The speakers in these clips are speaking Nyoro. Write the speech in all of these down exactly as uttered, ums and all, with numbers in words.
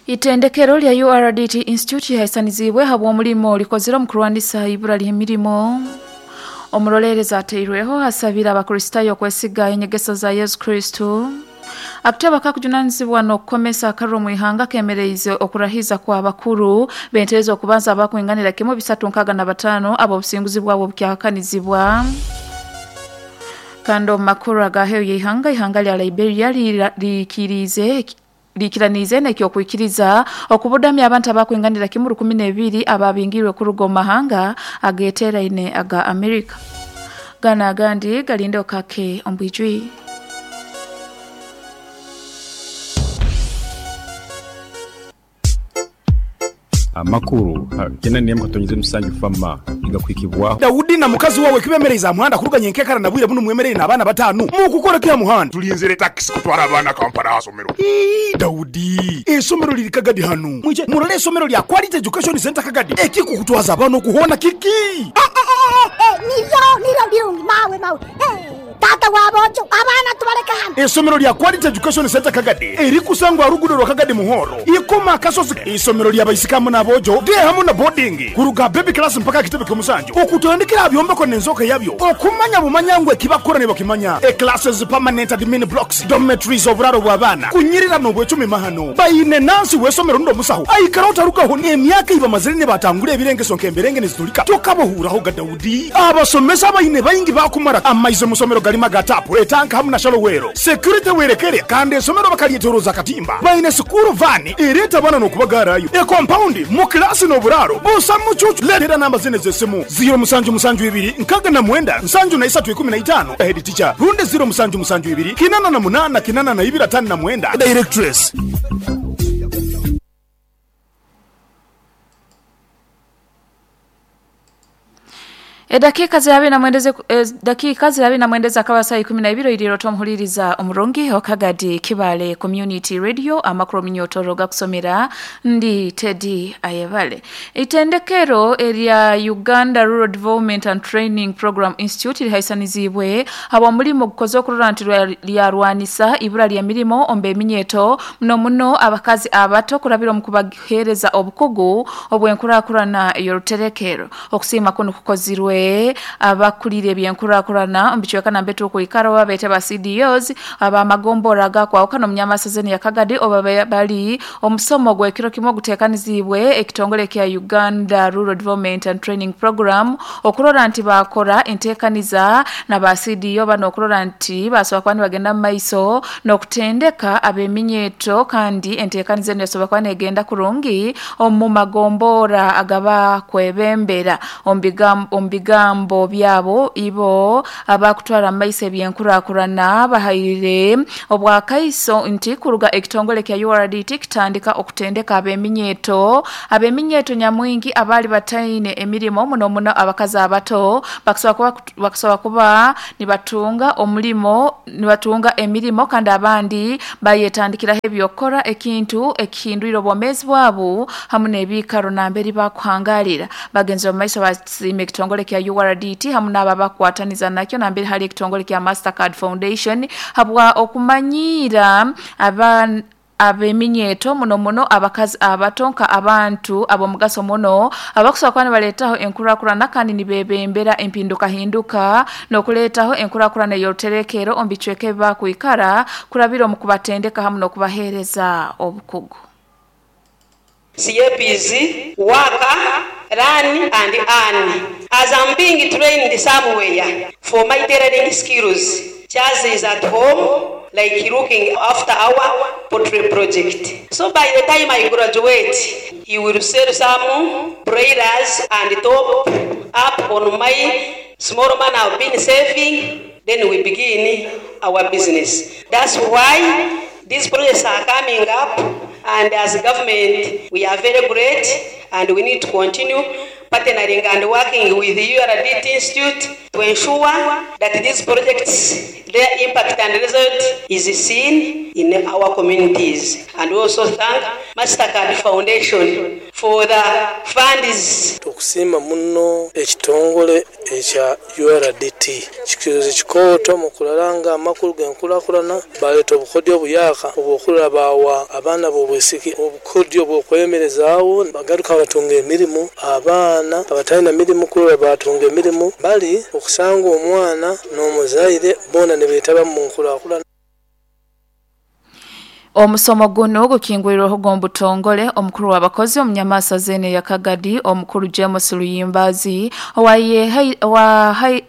Itendekero lya U R D T Institute yahaisanizibwe habw'omulimo likozire omu kurwanisa ibura ly'emirimo. Omurolereza ateirweho asabira Abakristayo okwesiga enyegeso za Yesu Kristo. Akuteba kakujunanizibwa n'okukomesa akariro mu ihanga kemereize okurahiza kwa bakuru benterezo okubanza abakwinganira kimwe bisatu nkaga na batano abo obusinguzi bwabo bukyahakanizibwa. Kando makuru agaheyo y'ihanga ihanga lya Liberia likirize likiranize n'ekyokwikiriza okubudamya abantu abakwinganira kimwe rukumi n'ebiri ababingirwe kuruga omu mahanga ageteraine aga Amerika. Gana agandi galinde okake ombwijwi. Amakuru kena niye mkatonyize musanju fama igakwikibwa Daudi na mukazi wawe kibemereza muhanda kuruganya enkekara na bwire buno mwemerere n'abana batanu mukukora kya muhanda tulinzire taxi kutwara abana Kampala asomero. Ii Daudi esomero liri Kagadi hanu mwije murole esomero lya Quality Education Center Kagadi ekikukutwaza abana okuhona kiki niyo niyo birungi mawe mawe tata wabojo abana tubaleka hano. Esomero lya Quality Education Center Kagadi erikusangwa rugudo rwa Kagadi Muhoro ikoma kasozi. Isomero lya baisikamu nabojo de hamu na boarding kuruga baby class mpaka kitebe kyomusanju okutandikira byombeko nenzoka yabyo okumanya bumanyangwe kibakora ne bakimanya e classes permanent admin blocks dormitories oburaro bw'abana kunyirira no bwecumi mahano bayine nansi wesomero ndo musaho aikara utarukaho ne emyaka iba mazire ne batangure ebirengeso nkemberenge nezitulika tokabohuraho ga Daudi abasomesa bayine bayingi bakumara amaizo musomero galima gatapu etanka hamu na shalowero security werekere kandi esomero bakaliyetoroza katimba bayine sukuru vani ereta bana no kubagarayo e compound mu klasi no buraro busa mucucu letera namba zine zesimu zero musanju musanju ibiri nkaga na mwenda nsanju na isatu ikumi na itano head teacher runde zero musanju musanju ibiri kinana na munana kinana na ibiri atano na mwenda directress. E dakika zirabi na mwendeze e dakika zirabi na mwendeza akawa saa ikumi na ibiri iliro tomuhuliriza omurungi Okagadi Kibale Community Radio amakuru minyotoro gakusomera ndi Teddy Ayebale. Itendekero erya Uganda Rural Development and Training Program Institute lihaisanizibwe abo mulimo gukoze okurora nti lyarwanisa ibura lya mirimo ombe eminyeto muno muno abakazi abato kurabira mu kubahereza obukugu obwenkurakurana yoruterekero okusima kuno kukozirwe abakulire ebyenkurakurana omubichweka na mbetu okuikara babete ba C D Os abamagombora gakwa okano mnyamasazeni ya Kagadi oba bali omusomo gwekiro kimwe gutekanizibwe ekitongole kya Uganda Rural Development and Training Program okurora nti bakora entekaniza na ba C D O bano okurora nti basoba kwani bagenda mu maiso nokutendeka abeminyeto kandi entekaniza nesoba kwani egenda kurungi omu magombora agaba kwebembera ombigam ombiga gambo byabo ibo abakutwara maise byenkurakurana bahayire obwakaiso nti kuruga ekitongole kya U R D T kitandika okutendeka abeminyeto abeminyeto nyamwingi abali bataine emirimo muno muno abakazi abato bakusoba kuba bakusoba kuba nibatunga omulimo nibatunga emirimo kandi abandi bayetandikira ebyokora ekintu ekihindwiro bomezi bwabo hamu n'ebikaro namberi bakuhangalira bagenzi bamaiso basime ekitongole kya U R D T hamu n'aba bakwataniza nakyo nambere hari ekitongole kya Mastercard Foundation habwa okumanyira aba abeminyeto muno muno abakazi abatonka abantu abo mugaso muno abakusobola kuba nibaletaho enkurakurana kandi nibebembera empinduka hinduka nokuletaho enkurakurana y'oruterekero omu bicweka ebi bakwikara kurabira omu kubatendeka hamu n'okubaheereza obukugu. C A P Z, work, run and earn. As I'm being trained somewhere for my tailoring skills, Charles is at home, like looking after our poultry project. So by the time I graduate, he will sell some broilers and top up on my small money I've been saving. Then we begin our business. That's why these projects are coming up, and as a government, we are very great, and we need to continue partnering and working with the U R D T Institute to ensure that these projects, their impact and result is seen in our communities. And we also thank Mastercard Foundation for the funds. Tukusiima muno ekitongole ekya U R D T kikirize kikooto mu kulala amakulu g'enkulaakulana baleeta obukodyo obuyaka obw'okulaba bawa abaana b'obwisiki obukodyo bw'okwemerezaawo bagaruka batunga emirimu abaana abatalina mirimu kulaba batunga emirimu bali okusanga omwana n'omuzaire boona ne beetaba mu nkulaakulana. Omusomo guno gukingwirweho gombutongole omukuru w'abakozi omunyamasa zene ya Kagadi omukuru James Luyimbazi owaye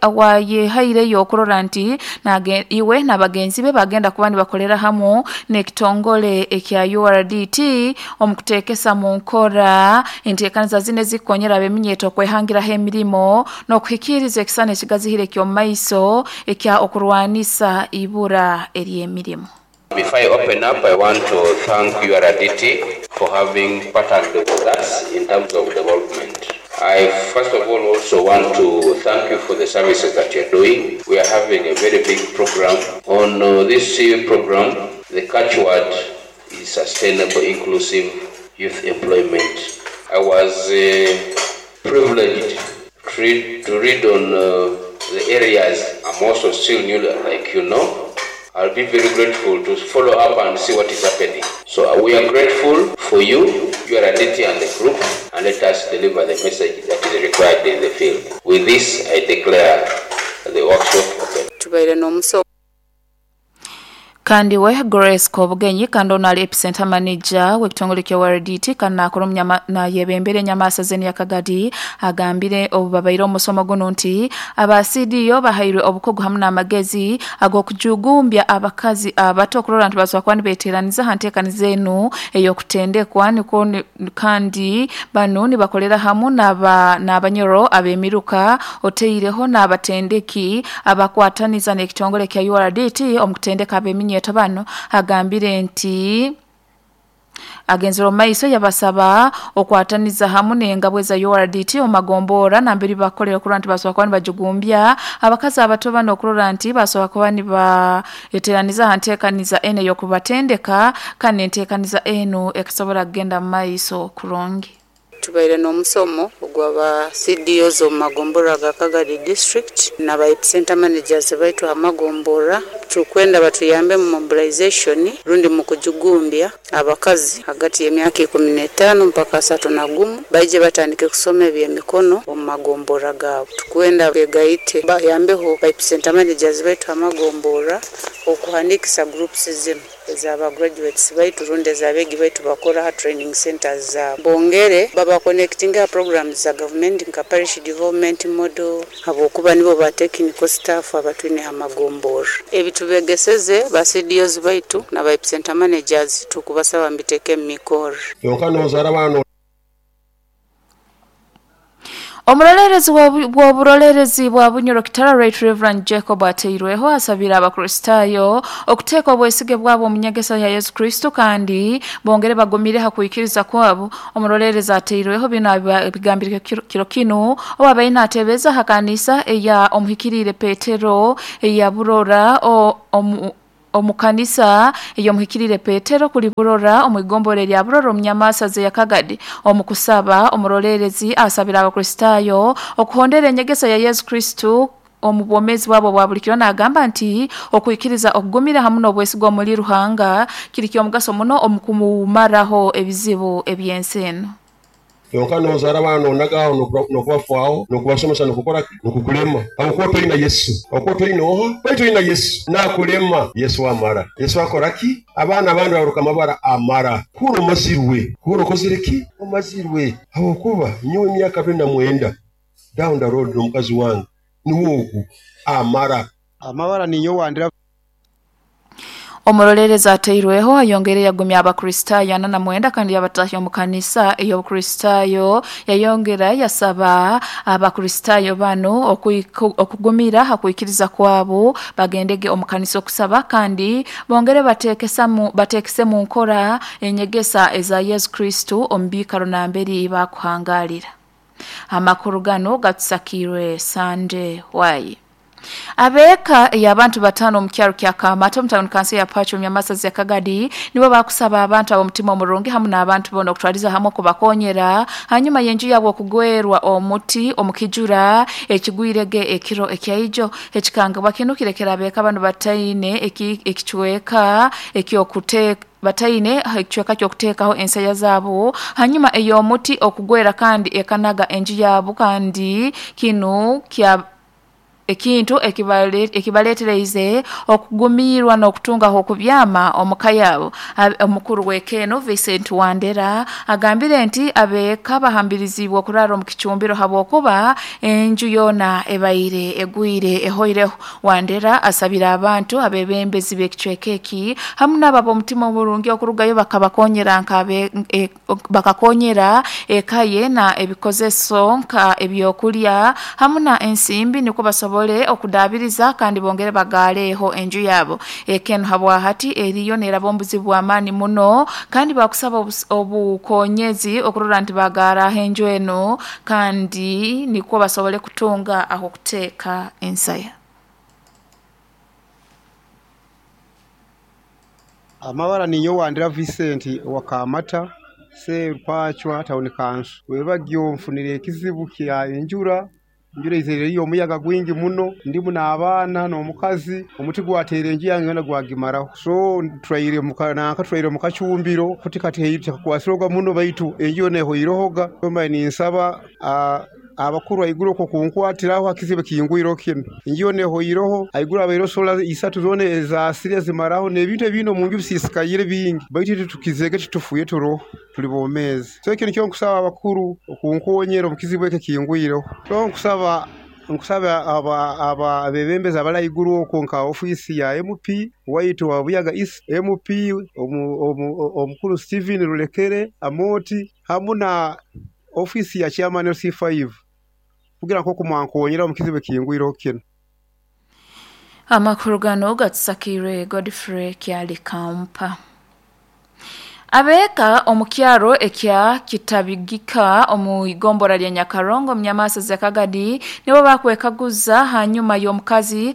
owaye haireyo okurora nti iwe n'abagenzi be bagenda kuba nibakolera hamu n'ekitongole ekya U R D T omukuteekesa mu nkora enteekaniza zine zikonyera abeminyeto okwehangiraho emirimo n'okuhikiriza ekisana ekigazihire eky'omu ekya okurwanisa ibura ery'emirimo. Before I open up, I want to thank U R D T for having partnered with us in terms of development. I first of all also want to thank you for the services that you're doing. We are having a very big program. On uh, this program, the catchword is sustainable, inclusive youth employment. I was uh, privileged to read, to read on uh, the areas. I'm also still new, like you know. I'll be very grateful to follow up and see what is happening. So uh, we are grateful for you, U R D T and the group, and let us deliver the message that is required in the field. With this, I declare the workshop open. Kandi we Grace Kobugenyi kandi ono ali epicenter manager w'ekitongole kya U R D T kandi nakora omunyama na yebembere enyamasa zene ya Kagadi agambire obubabaire omusomo guno nti aba C D O bahairwe obukogo hamu n'amagezi ag'okujugumbya abakazi abato okurora nti basobola kuba nibeeteraniza ha nteekaniza enu ey'okutendekwa niko kandi bano nibakolera hamu n'aba n'abanyoro ab'emiruka oteireho n'abatendeki abakwataniza n'ekitongole kya U R D T omukutendeka ab'eminyeto bano agambire nti agenzero maiso yabasaba okwataniza hamu n'engabwe za U R D T omagombora nambiri bakolera okurora nti basobola kuba nibajugumbya abakazi abato bano okurora nti basobola kuba nibaeteraniza ha nteekaniza eno ey'okubatendeka kandi enteekaniza eno ekasobola kugenda mu maiso kurungi. Tubaire n'omusomo ogw'aba C D Os omu magombora ga Kagadi district n'aba epicenter managers baitu amagombora tukwenda batuyambe mu mobilization rundi mu kujugumbya abakazi hagati y'emyaka ikumi n'etaano mpaka asatu na gumu baije batandike kusoma eby'emikono omu magombora gaabo. Tukwenda begaite bayambeho ba epicenter managers baitu amagombora okuhandikisa groups zino ezaba graduates baitu rundi ezabegi baitu bakora ha training centers zaabo. Bongere baba connecting ha programs za government nka parish development model abokuba nibo ba technical staff abatwine ha magombora. Ebitubegeseze ba C D Os baitu na ba epicenter managers tukubasaba mbiteke mikoro. Yonka nozara bano. Omurolerezi w'oburolerezi bwa Bunyoro Kitara Right Reverend Jacob Ateirweho asabira abakristayo okuteeka obwesige bwabo omu nyegesa ya Yesu Kristo kandi bongere bagumire ha kuikiriza kwabo. Omurolerezi Ateirweho bino bigambire kiro kino obabaye natebeza ha kanisa eya omuhikirire Petero eya Burora o omu omukanisa eyo muhikirire Petero kuli Burora omwigombole lya Burora omunyamasa ze ya Kagadi. Omukusaba omurolerezi asabira abakristayo okuhondera enyegesa ya Yesu Kristo omubwomezi bwabo bwa buli kiro n'agamba nti okuikiriza okugumira hamu n'obwesigwa muri Ruhanga kiri ky'omugaso muno omukumumaraho ebizibu eby'ensi eno. Yonka nozara bano nagaho nokubafwaho nokubasomesa nokukora nokukulema abukuba tolina Yesu abukuba tolina oha bali tolina Yesu nakulema Yesu amara Yesu akoraki abaana abandi baruka amabara amara kuro mazirwe kuro kozireki omazirwe abukuba nyowe emyaka abiri na mwenda down the road n'omukazi wange niwogu amara amabara ninyo wandira. Omurolerezi Ateirweho ayongere yagumya abakristayo ana na mwenda kandi yabatahya omu kanisa ey'obukristayo yayongera yasaba abakristayo bano okugumira ha kuikiriza kwabo bagendege omu kanisa okusaba kandi bongere bateekesa bateekese mu nkora enyegesa eza Yesu Kristo omu biikaro namberi bakuhangalira. Amakuru gano gatusakirwe Sande Wai. Abeka y'abantu batano mu kyaro kya Kamata mu town council ya Pacho myamasazi ya Kagadi nibo bakusaba abantu abo mutima omurungi hamwe n'abantu bona okutwaliza hamwe kubakonyera hanyuma yenju yabo okugwerwa omuti omukijura ekigwirege ekiro ekyaijo ekikanga bakinukirekera abeka abantu bataine ekichweka ekyokuteka bataine ekichweka kyokutekaho ensaya zabo hanyuma eyo omuti okugwera kandi ekanaga enju yabo kandi kinu kya ekintu ekibaleetereize okugumirwa n'okutungaho okubyama omuka yabo. Omukuru w'ekeno Vincent Wandera agambire nti abeeka bahambirizibwa okurara omu kicumbiro habwokuba enju yona ebaire egwire ehoireho. Wandera asabira abantu abebembezi b'ekicweka eki hamwe n'ababo omutima omurungi okurugayo bakabakonyera nkabe e, bakakonyera eka ye na ebikozeso nka ebyokulya hamwe na ensimbi niko basobola okudabiriza kandi bongere bagaleho enju yabo. Ekeno habwa hati eriyo nerabombuzi bwa amani muno kandi bakusaba obukonyezi okurora nti bagara enju eno kandi niko basobole kutunga aho kuteka ensaya. Amabara niyo Wandera Vincent wakamata se Rupachwa town council webagyo mfunire ekizibu kya enjura njura izere iyo omuyaga gwingi muno ndimu n'abaana n'omukazi omuti gwateera enju yange yona gwagimaraho so turaire mukanaka turaire mu kacumbiro kuti kati tekakwasiroga muno baitu enju yona ehoirohoga mbaye ninsaba abakuru aiguru ko kunkwatiraho akizibe kingwiro kino enju yona ehoiroho aiguru abairo sola isatu zone ezasire zimaraho n'ebintu ebino mu nju bisisikayire bingi baitu tukizege tutufuye turo tuli bomezi so ekyo nikyo nkusaba abakuru okunkonyera omukizibu eke kingwiro so nkusaba nkusaba aba aba abebembezi abalayiguru okwo nka ofisi ya M P waitu wa Buyaga East M P omukuru Steven Rulekere Amoti hamu na ofisi ya chairman L C five kugira nko kumwankonyera omukizibu kingwiro kino. Amakuru gano gatsakire Godfrey Kyali Kampa. Abeka omukyaro ekya kitabigika omu igombora lya Nyakarongo mnyamasa za Kagadi nibo bakwekaguza hanyuma y'omukazi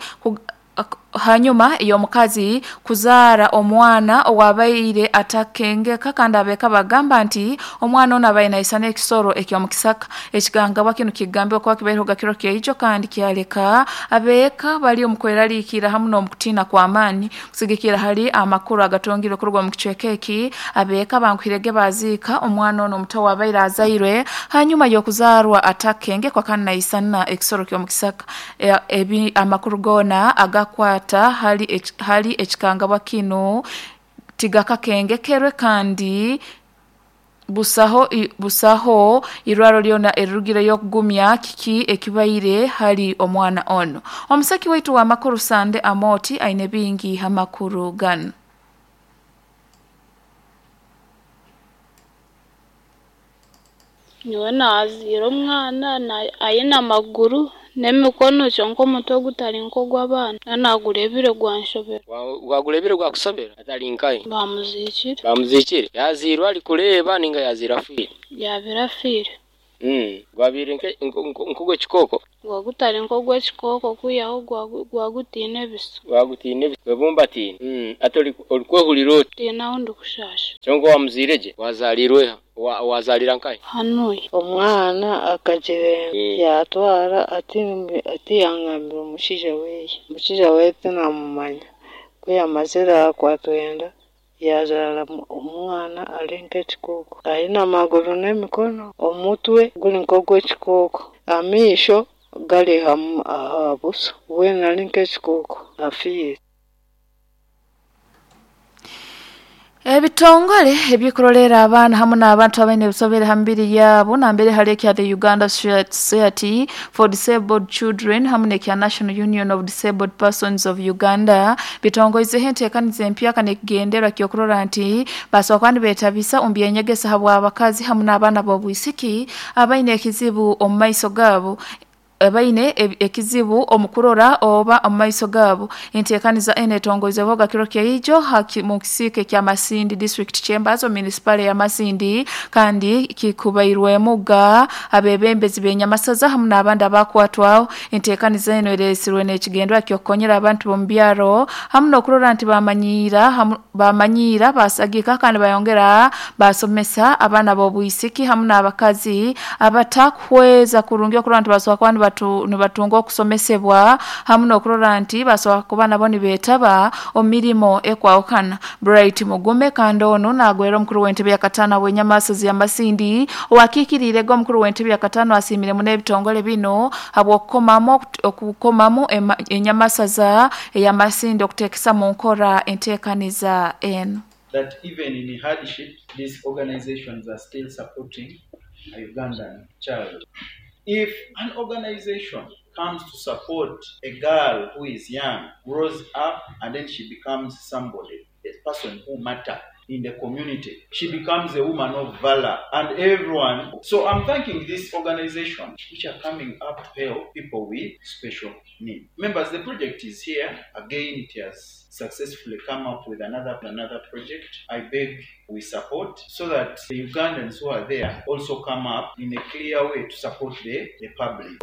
hanyuma y'omukazi kuzaara omwana owabaire atakengeka kandi abeka bagamba nti omwana ono abaire naisana ekisoro eky'omukisaka. Ekigangabwa kino kigambibwa kuba kibaire kiro kyaijo kandi kyaleka abeka bali omukweraliikira hamu n'omukutiina kw'amaani kusigikira hali amakuru agatongirwe kuruga omu kicweka eki. Abeka bankuhirege baziika omwana ono omuto wabaire azairwe hanyuma y'okuzaarwa atakengekwa kandi naisana ekisoro ky'omukisaka. E, ebi amakuru gona agakwata hali hali ekikangabwa kino tigakakengekerwe kandi busaho busaho irwaro lyona erugire yokugumya kiki ekibaire hali omwana ono. Omusaki waitu wa makuru Sande Amoti aine bingi hamakuru gano. Niwe naazira omwana ayina amaguru n'emikono kyonka omutwe gutari nk'ogw'abaana nanagurebire gwanshobera. Gwagurebire gwakusobera atari nkaye bamuzikire bamuzikire yazirwa ari kureba ninga yazira afire yabira afire mm gwabire nk'ogw'ekikoko gwagutari nk'ogw'ekikoko kwihaho gwagutiine ebiso gwagutiine ebiso gwebumbatine mm ati orikwehurira oti tiinaho ndikushasha kyonka wamuzire gye wazarirweha wazalira nkaye hanuye omwana akagira yatwara ati ati yangambira omushaija weye omushaija weye tinamumanya ku yamazire akwatwenda yazara omwana ari nk'ekikoko aine amaguru n'emikono omutwe guri nk'ogw'ekikoko amaisho gari aha buso weena ari nk'ekikoko afiire. Ebitongole ebikurolera abaana hamwe n'abantu abaine ebisobere ha mibiri yabo nambere hali ekya the Uganda Society for Disabled Children hamwe n'ekya National Union of Disabled Persons of Uganda bitongoizeho enteekaniza empyaka n'ekigendererwa ky'okurora nti basobola kandi beetabisa omu byenyegesa habw'abakazi hamwe n'abaana b'obwisiki abaine ekizibu omu maiso gaabo. abaine ekizibu omukurora oba omaiso gabo. Enteekaniza eno etongoizebwaga kiro kyaijo mu kisike kya Masindi District Chambers municipal ya Masindi, kandi kikubairwemuga abebembezi b'enyamasaza hamu n'abandi abakwatwaho. Enteekaniza eno eresirwe n'ekigendwa ky'okukonyera abantu b'omu byaro hamu n'okurora nti bamanyiira bamanyiira basagika kandi bayongera basomesa abaana b'obwisiki hamu n'abakazi abatakuhweza kurungi okurora nti basobola kuba nibatunga okusomesebwa hamu n'okurora nti basobola kuba nabo nibeetaba omu mirimo ekwahukana. Bright Mugume kandi ono nagwera omukuru w'entebe ya katano w'enyamasozi ya Masindi owakiikiriirege omukuru w'entebe ya katano asiimiremu n'ebitongole bino habw'okukomamu okukomamu enyamasaza eya Masindi okuteekesa mu nkora enteekaniza eno. That even in hardship, these organizations are still supporting a Ugandan child. If an organization comes to support a girl who is young, grows up, and then she becomes somebody, a person who matters in the community, she becomes a woman of valor, and everyone. So I'm thanking this organization which are coming up to help people with special needs. Members, the project is here. Again, it has successfully come up with another another project. I beg we support so that the Ugandans who are there also come up in a clear way to support the, the public.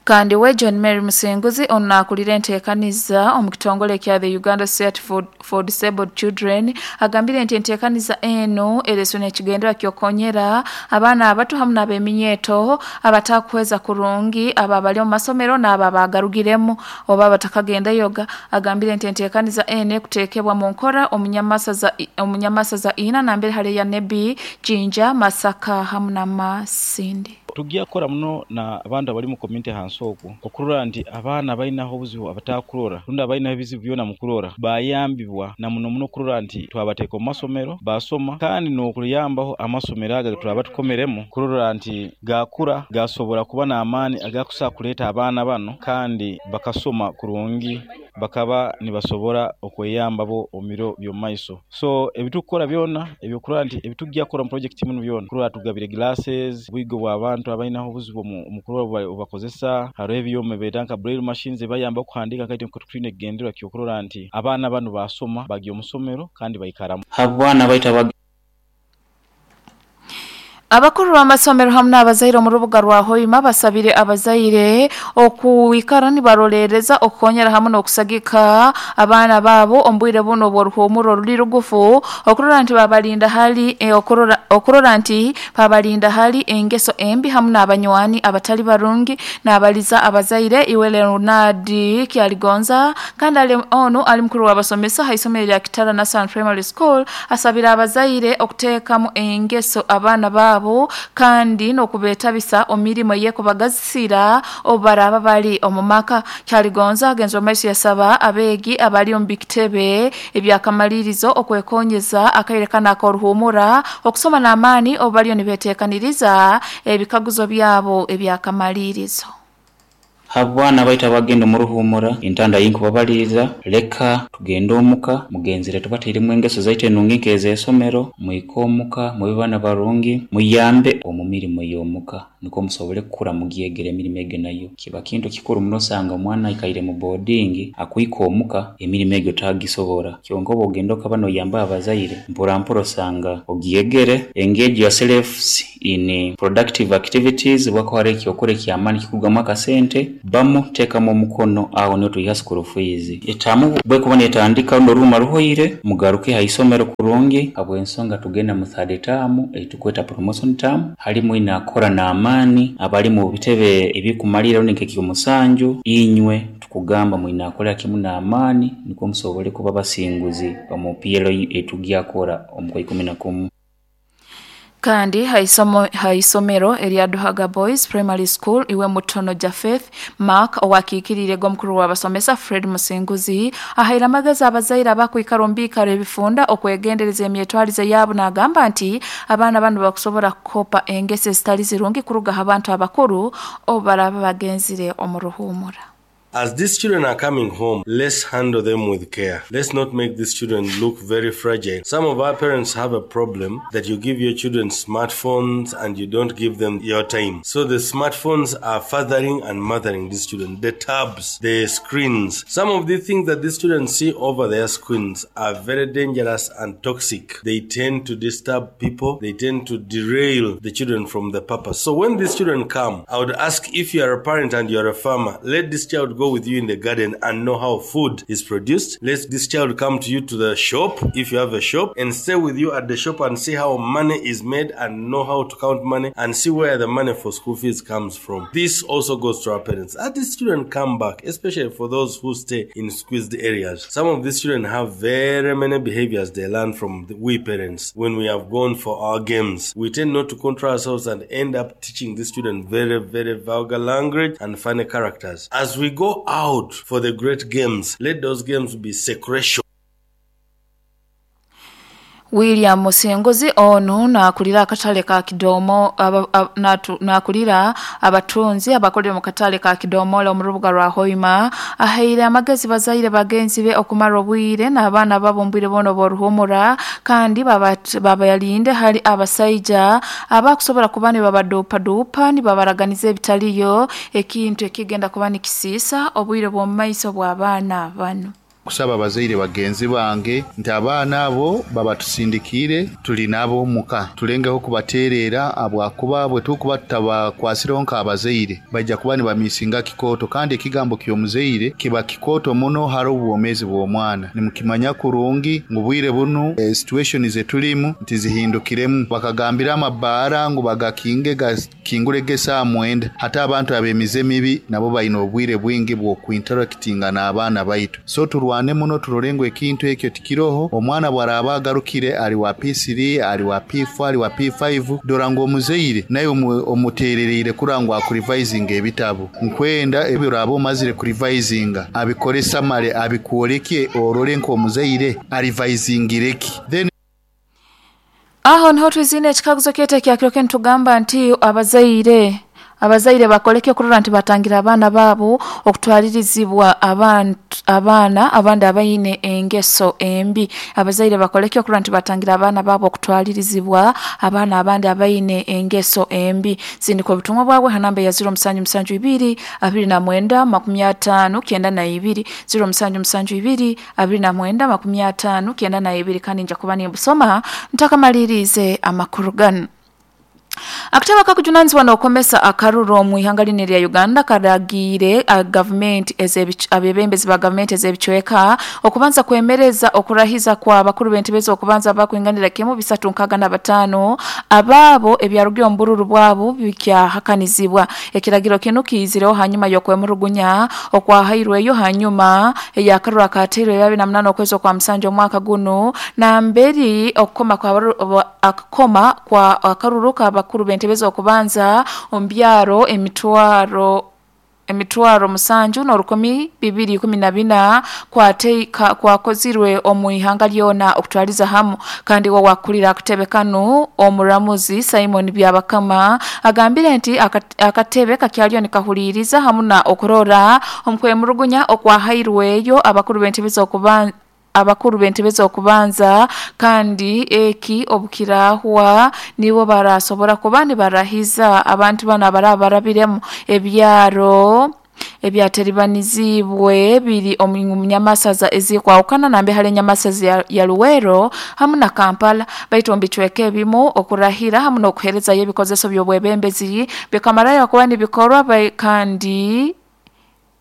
Kandi we John Mary Musenguzi ono akulira enteekaniza omu kitongole kya the Uganda Society for, for Disabled Children agambire nti enteekaniza eno ereswe n'ekigendera ky'okukonyera abaana abato hamu n'ab'eminyeeto abatakuhweza kurungi abo abali omu masomero n'abo abagarugiremu oba abatakagendayoga. Agambire nti enteekaniza eno ekuteekebwa mu nkora omunyamasaza ina nambere hali ya Nebi, Jinja, Masaka hamu na Masindi. Tujja kukora muno na abantu abali mu community hansi okwo okurora nti abaana balinaho obuzibu abatakurora rundi abalinaho ebizibu byona mu kurora bayambibwa na muno muno kurora nti twabateeka omu masomero basoma, kandi n'okuyambaho amasomero aga twaba tukomeremu kurora nti gakura gasobora kuba n'amaani agakusobola kuleeta abaana bano kandi bakasoma kurungi bakaba nibasobora okweyambabo omu biro by'omu maiso. So ebitukukora byona ebyokurora nti ebitujja kukora mu project muno byona kurora tugabire glasses bwigo bw'abantu abalinaho obuzibu omu kurora obubakozesa, hariho ebyoma beeta nka braille machines ebayamba okuhandiika kaite twine ekigendererwa ky'okurora nti abaana bano basoma bagya omu somero kandi baikaramu. Abaana baitu Abakuru b'amasomero hamu n'abazaire omu rubuga rwa Hoima basabire abazaire okuikara nibarolereza okukonyera hamu n'okusagika abaana baabo omu bwire buno obw'oruhumuro ruli rugufu okurora nti babalinda hali eh, okurora, okurora nti babalinda hali engeso embi hamu n'abanywani abatali barungi. N'abaliza abazaire iwe Leonard Kyaligonza kandi ali ono ali mukuru w'abasomesa ha isomero lya Kitara National Primary School asabira abazaire okuteekamu engeso abaana baabo kandi n'okubeetabisa omirimo yekubagazisira obaraba bali omu maka. Kyaligonza agenza omaiso yasaba abeegi abali omu bikitebe ebyakamalirizo okwekonyeza akaire kana ak'oruhumura okusoma n'amaani obu baliyo nibeteekaniriza ebikaguzo byabo ebyakamalirizo. Habwana baita bagenda omuruhumura entanda yinkubabaliriza leka tugende omuka mugenzere tubateiremu engeso zaitu enungi nk'ez'esomero mwike omuka mube baana barungi muyambe omu mirimo y'omuka niko musobole kukura mugyegere emirimo egyo nayo kiba kintu kikuru muno osanga omwana aikaire mu boarding akwika omuka emirimo egyo tagisobora kyonka oba ogenda okaba noyamba abazaire mpora mpora osanga ogyegere. Engage yourselves in productive activities bwako hariho ekyokora ekyamaani kikurugamu akasente bamu teekamu omukono aho niho twiha school fees etamu bwekuba netandika rundi oruhuma ruhoire mugaruke ha isomero kurungi habw'ensonga tugenda mu third term eitukweta promotion term halimu inakora n'amaani abali mu bitebe ebikumalira rundi nk'ekyomusanju inywe tukugamba mwinakolera kimu n'amaani nikwo musobole kuba basinguzi omu P L U etugyakora omu kwa ikumi na kumu. Kandi haisomo, haisomero erya Duhaga Boys Primary School iwe Mutono Jafeth Mark owakiikirire gomukuru w'abasomesa Fred Musinguzi ahaire amagezi abazaire abakwikara omu biikaro ebifunda okwegendereza emyetwarize yaabo n'agamba nti abaana bano bakusobora kukopa engeso ezitali zirungi kuruga ha bantu abakuru obu baraba bagenzire omu ruhumura. As these children are coming home, let's handle them with care. Let's not make these children look very fragile. Some of our parents have a problem that you give your children smartphones and you don't give them your time. So the smartphones are fathering and mothering these children. The tabs, the screens. Some of the things that these children see over their screens are very dangerous and toxic. They tend to disturb people. They tend to derail the children from the purpose. So when these children come, I would ask if you are a parent and you are a farmer, let this child go with you in the garden and know how food is produced. Let this child come to you to the shop, if you have a shop, and stay with you at the shop and see how money is made and know how to count money and see where the money for school fees comes from. This also goes to our parents. As these children come back, especially for those who stay in squeezed areas, some of these children have very many behaviors they learn from the, we parents. When we have gone for our games, we tend not to control ourselves and end up teaching these children very, very vulgar language and funny characters. As we go out for the great games, let those games be secretion. William Musengozi ono nakulira akatale ka Kidomo nakulira abatunzi abakolera mu katale ka Kidomo mu rubuga rwa Hoima ahaire amagezi bazaire bagenzi be okumara obwire n'abaana babumbwire bono boruhumura kandi babayalinde hali abasaija abakusobola kuba ne babadopa dopa ni babaraganiza ebitaliyo ekintu ekigenda kuba nikisiisa obwire bw'omumaiso bw'abaana bano. Kusaba abazaire bagenzi bange nti abaana abo babatusindikire tuli nabo muka tulengeho kubaterera abwakuba bwe tukuba tutabakwasireho nk'abazaire bajja kuba nibamisinga kikoto kandi ekigambo ky'omuzaire kiba kikoto muno hari obwomezi bw'omwana nimukimanya kurungi ngu bwire bunu e, situation zetulimu nti zihindukiremu bakagambira amabaara ngu bagakinge gakingurege saa mwenda hata abantu ab'emize mibi nabo balina obwire bwingi bw'okuinteractinga n'abaana baitu so turwane muno turolengo ekintu ekyo tikiroho omwana bwaraba agarukire ali wa P three ali wa P four ali wa P five dora ngo omuzeire naye omutererere kurangwa akurevising ebitabo nkwenda ebyo rabo mazire kurevisinga abikoresa male abikuoleke orole nko omuzeire arivisingireki then aho niho twizine ekikaguzo kyete kyakiroke ntugamba nti abazaire abazaire bakoleke kurora nti batangira abaana babo okutwalirizibwa abantu abaana abandi abayine engeso embi abazaire bakoleke kurora nti batangira abaana babo okutwalirizibwa abaana abandi abayine engeso embi sindiko obutumwa bwabwe hanamba ya zero musanju musanju ibiri abiri na mwenda makumi atano kyenda na ibiri zero musanju musanju ibiri abiri na mwenda makumi atano kyenda na ibiri kandi nja kuba nimbusoma ntakamalirize amakuru gano. Akataba kakujunanizibwa n'okomesa akaruru mu ihanga line lya Uganda karagire a government abebembezi ba government ez'ebicweka okubanza kwemereza okurahiza kwa bakuru b'entebe okubanza bakwinganira kimu bisatu nkaga na batano ababo ebyarugire ombururu bwabo bikyahakanizibwa ekiragiro kino kizireho hanyuma y'okwemurugunya okwahairweyo hanyuma eyakaruru akateirwe bibiri na munana okwezi kwa musanju omwaka guno na mberi okukoma kwa akakoma kwa akaruru ka bakuru b'entebe okubanza ombyaro emitwaro emitwaro musanju n'orukumi bibiri kumi na bina kwate kwakozirwe omu ihanga lyona okutwaliza hamu kandi wo wakulira akatebe kano omuramuzi Simon Byabakama agambire nti akatebe kakyalyo nikahuliriza hamu na okurora omukwemurugunya okwahairweyo abakuru b'entebe okubanza abakuru b'entebe okubanza kandi eki obukirahwa nibo barasobora kuba nibarahiza abantu bana barabarabiremu ebyaro ebyateribanizibwe biri omunyamasaza ezikwawukana nambe hali nyamasaza ya, ya Luwero hamu na Kampala baitu mbichweke ebimu okurahira hamu n'okuhereza y'ebikozeso by'obwebembezi bikamarayo kuba nibikorwa kandi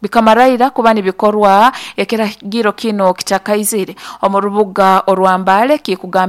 bikamaraira kuba nibikorwa ekiragiro kino kitakaizire omu rubuga orwambale kikugamba.